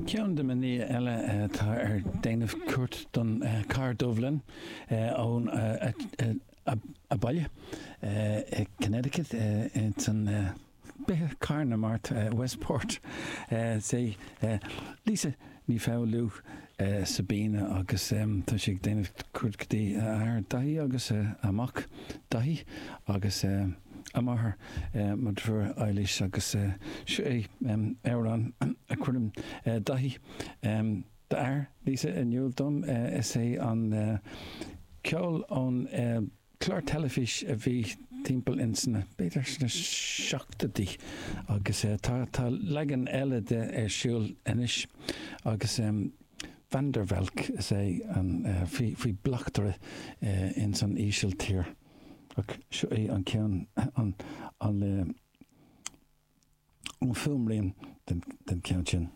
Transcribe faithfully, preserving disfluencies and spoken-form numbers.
Ceann de na mná eile atá ar déanamh cuairt don Carr Dubh linn ón a baile i Connecticut san b'é Cathair na Mart, Westport. Is é Lisa Ní Foghlú Sabina agus tá sí ag déanamh cuairt go dtí a athair Daithí agus a mac Daithí agus a máthair, mo dheirfiúr Eilís, agus seo é amhrán a chuireann Daithí, d'athair Lisa, in iúl dom. Is é an ceol ón clár teilifís a bhí timpeall ins na, b'fhéidir sna seachtóidí, agus tá tá leagan eile de ar siúl anois agus Van der Valk is é an faoi faoi bleachtaire ins an Ísiltír, ach seo é an ceann an an an fuaimrian den den ceann sin.